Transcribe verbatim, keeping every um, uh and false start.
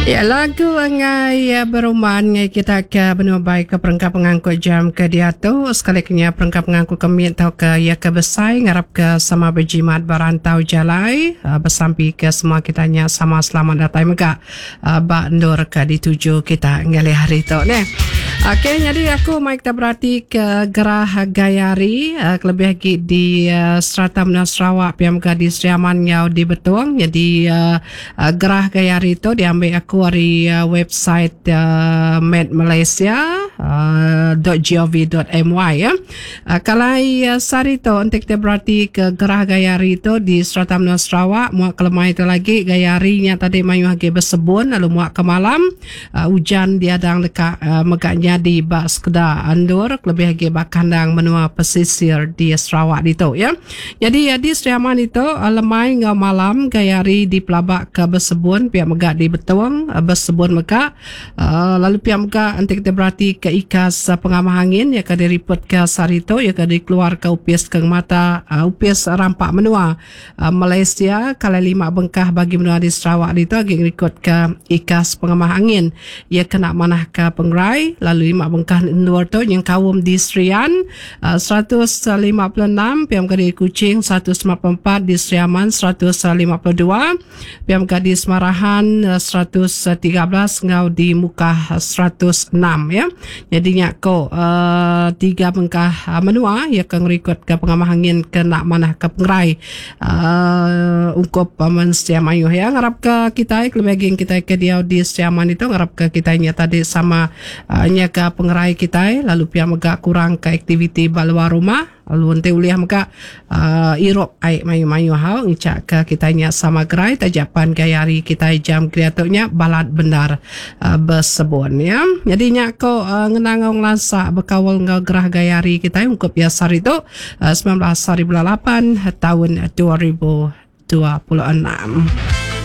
Ya, lagu ngai ya, beruman ngai kita ke benua baik ke perengka pengangkut jam ke diatu sekali kenya perengka pengangkut kemit tau ke ya ke besai ngarap ke sama berjimat berantau jalai uh, besampi ke semua kita nya sama selamat datai mega uh, ba endur ke dituju kita ngalih hari tu neh. Okey, jadi aku mai kita berati ke gerah gaya hari uh, kelebih lagi di uh, serata menua Sarawak pia mega di Sri Aman ngau di Betong. Jadi uh, uh, gerah gaya hari tu diambil aku ari uh, website uh, Met Malaysia uh, .gov.my ya. Uh, kalau uh, sehari tu untuk kita berarti ke gerah gaya hari tu di serata menua Sarawak muak kelemai tu lagi gaya harinya tadi mayuh lagi bersebun lalu muak ke malam uh, hujan diadang dekat uh, megaknya di bak sekedar andur lebih lagi bak kandang menua pesisir di Sarawak itu ya. Jadi uh, di Sri Aman itu uh, lemai ngau malam gaya hari di pelabak ke bersebun pihak megak di Betong uh, bersebun megak uh, lalu pihak megak nanti kita berarti ke ikas uh, pengamah angin ya ke diriput ke sehari itu ya ke dikeluar ke upis ke mata uh, upis rampak menua uh, Malaysia kalau lima bengkah bagi menua di Sarawak itu lagi ngerikut ke ikas pengamah angin ya kena manah ke pengrai lalu lima bengkah luar tu yang kaum di Serian uh, seratus lima puluh enam P M K di Kuching seratus lima puluh empat di Sri Aman seratus lima puluh dua P M K di Semarahan seratus tiga belas ngau di Mukah seratus enam ya. Jadi nyako uh, tiga bengkah uh, menua ya ke ngerikut ke pengamah angin ke nak manah ke pengrai uh, ungkup uh, mensia mayuh ya. Ngarap ke kita lebih kita ke dia di Sri Aman itu ngarap ke kita nya tadi sama uh, nya ke pengerai kita lalu pia mega kurang ke aktiviti ba luar rumah lalu nanti uliah mega uh, irop air mayu-mayu hau ngicak ke kita nya sama gerai tajapan gaya hari kita jam kreatornya balat benar uh, bersebun ya. Jadi nya ko uh, ngenang ngelansa bekawal ngau gerah gaya hari kita ungkup biasa hari itu uh, sembilan belas hari bulan lapan tahun dua ribu dua puluh enam.